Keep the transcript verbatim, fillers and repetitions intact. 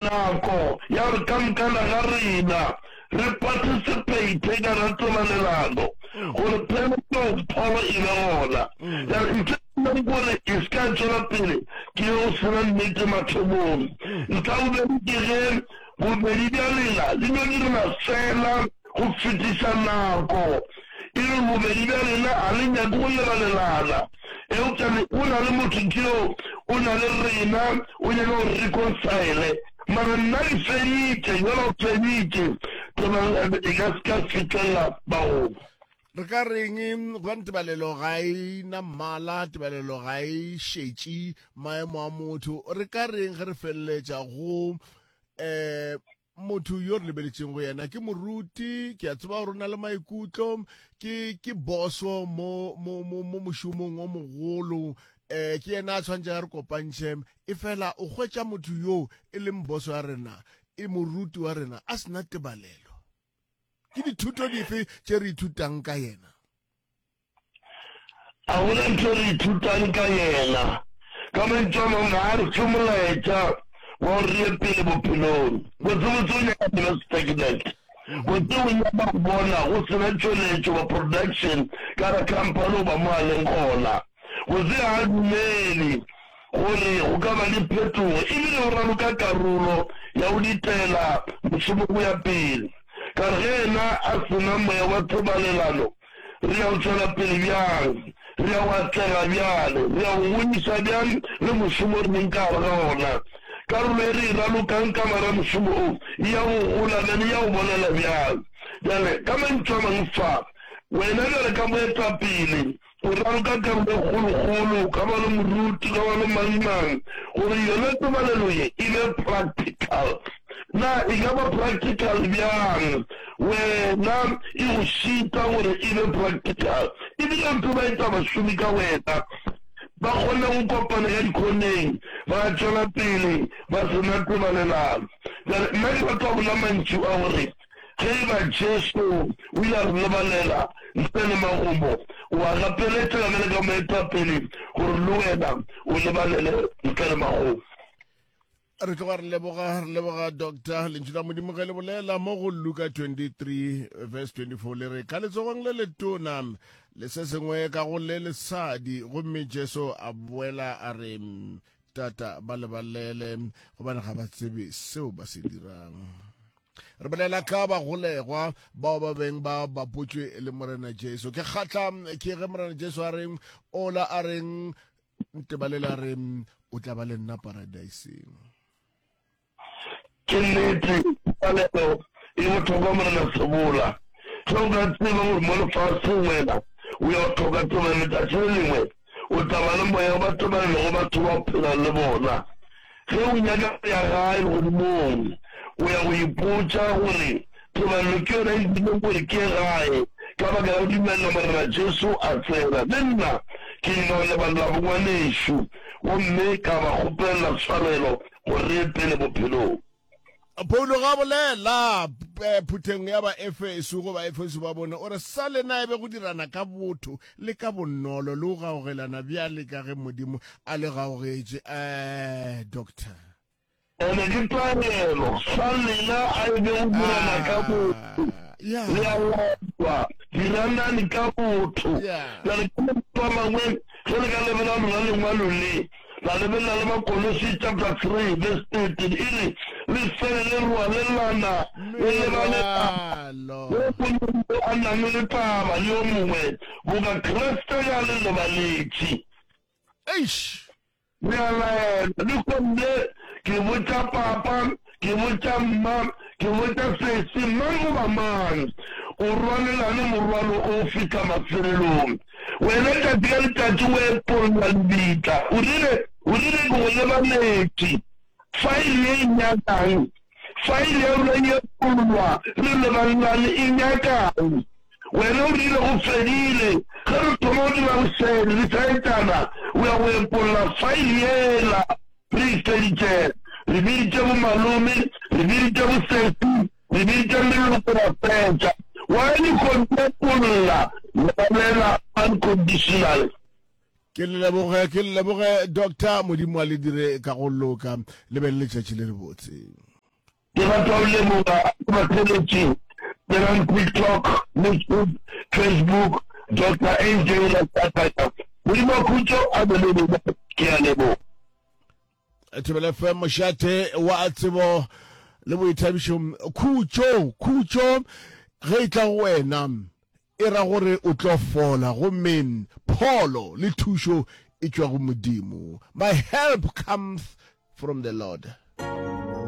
Nako ya gore ka mokana ga rena re participate ka ga tebalelano gore pheletšong pholo e be gona. Bjale ntho e leng gore e se ka tšwela pele ke ye go sena nnete mathomong. Ntlha bobedi ke ge bobedi bja lena le no direla fela go fetiša nako, e re bobedi bja lena ga le nyake go lebalelana, eupša le, go na le motho tšeo o na le rena, o nyaka go reconcile, mara nna ke feditše, yola o feditše, tebalelo e ka se ka fihlelela bagolo. Re ka reng gobane tebalelo ga e na mmala, tebalelo ga e šetše maemo a motho. Re ka reng ge re feleletša go um motho yo re lebeletšeng go yena ke moruti, ke a tseba gore o na le maikutlo, ke ke boso mo mo mo mo mošomong o mogolo, eh ke yena a tshwanetse a re kopantšhe, e fela o hwetša motho yo e leng boso ya rena, e moruti wa rena a sena tebalelo. Ke dithuto dife tše re ithutang ka yena? A go na ntho re ithutang ka yena. Ka mantšu a mangwe, ga a re fe molaetša wa gore re ye pele bophelong. Botsebotse o nyaka go ba stagnant. Botse o nyaka go bona go se na tšweletšo goba production ka gare khamphani goba mo a leng gona. Botse ga a dumele gore go ka ba le phetogo e bile o raloka karolo ya go ditela mošomo go ya pele. Ka re ge yena a se na moya wa tebalelano, Re ya go tšwela pele bjang? Re ya go atlega bjale? Re ya go godiša bjang le mošomo re leng ka gare ga ona? Karolo e re e ralokang ka gare ga mošomo o e ya go gola bjang, e ya go bonala bjang? Bjale, ka mantšu a mangwe fa, wena bjale ka moetapele, o raloka karolo e kgolokgolo, ka ba le moruti, ka ba le mang-mang, gore yona tebalelo ye e be practical. Na e ka ba practical bjang? Wena e go šita gore e be practical. E bile o tseba etsa bašomi ka wena ba kgone go kopana ka dikhoneng ba tšwela pele ba se na tebalelano. Bjale nna ke rata go bolela mantšu a gore ge e ba Jesu o ile a re lebalela ntle le magomo, o a gapeletšega bjale ka moetapele gore le wena o lebalele ntle le magomo. Re tloga re leboga, re leboga doctor. Lentšu la Modimo ge le bolela mo go Luka twenty-three verse twenty-four le re, ka letsogong le letona le se sengwe ka go le lesadi. Gomme Jesu a boela a re, Tata, ba lebalele, gobane ga ba tsebe seo ba se dirang. Re bolela ka bagolegwa bao ba beng ba bapotšwe le Morena Jesu. Ke kgatla ke ge Morena Jesu a reng, ola a reng, Ntebalele a re, O tla ba le nna Paradeiseng. Ke nnete, tebalelo e bohlokwa, Morena Sebola. Ge o ka tseba gore mo lefaseng wena o ya go hloka tebalelo letšatši le lengwe, o tla ba le moya wa tebalelo go batho ba o phelang le bona. Ge o nyaka go ya gae legodimong, o ya go ipotša gore tebalelo ke yona e dirileng gore ke ye gae ka baka la go dumelela Morena Jesu a tsena. Le nna ke ile go lebalela bongwanešo gomme ka ba kgopelela tshwarelo gore re ye pele bophelong. Paulo ga a bolela phutheng ya Baefeso go Baefeso ba bone, o re, Sa lena e be go dirana ka botho le ka bonolo le go gaogelana bjale ka ge Modimo a le gaogetše. Eh, Doctor. Ene ke taelo, sa lena a e be go dirana ka botho. Yeah. Le a laelwa, diranani ka botho. Yeah. Bjale ka mantšu a mangwe, ge le ka lebelela lona lengwalo le, La lebelela le Bakolose chapter three verse thirteen, e re, Le fele le rwalelana le lebalelana, Merwalo. yo mongwe yo a nang le taba le yo mongwe, boka Kriste ge a le lebaletše. Eish! Re a laelwa. Lehono le, ke botša papa, ke botša mma, ke botša sesi, mang goba mang, o rwalelane morwalo o fihla mafelelong. Wena tšatši ka letšatši o epolla lebitla. O rile, o rile ke go lebaletše. Faele ye e nyakang? Faele ya rona e epollwa, re lebalelane, e nyakang? Wena o rile go fedile. Ge re thoma go dira bošaedi, re šaetšana, o ya go epolla faele yela re e feditšego. Re biditše bomalome, re biditše bosesi, re biditše meloko ra fetša. Why le kgontepolla lebalela unconditionally? Ke le leboge, ke le leboge Doctor, Modimo a le dire ka go loka, le be le letšatši le lebotse. Ke rata go leboga batheeletši tsenang TikTok, YouTube, Facebook, Doctor A J Lesakanya. Modimo wa khutšo a be le lena. Ke a leboga. Thobela F M, mošate wa tsebo le boithabišo. Khutšo, khutšo ge e tla go wena e ra gore o tlo fola, gomme pholo le thušo e tšwa go Modimo. My help comes from the Lord.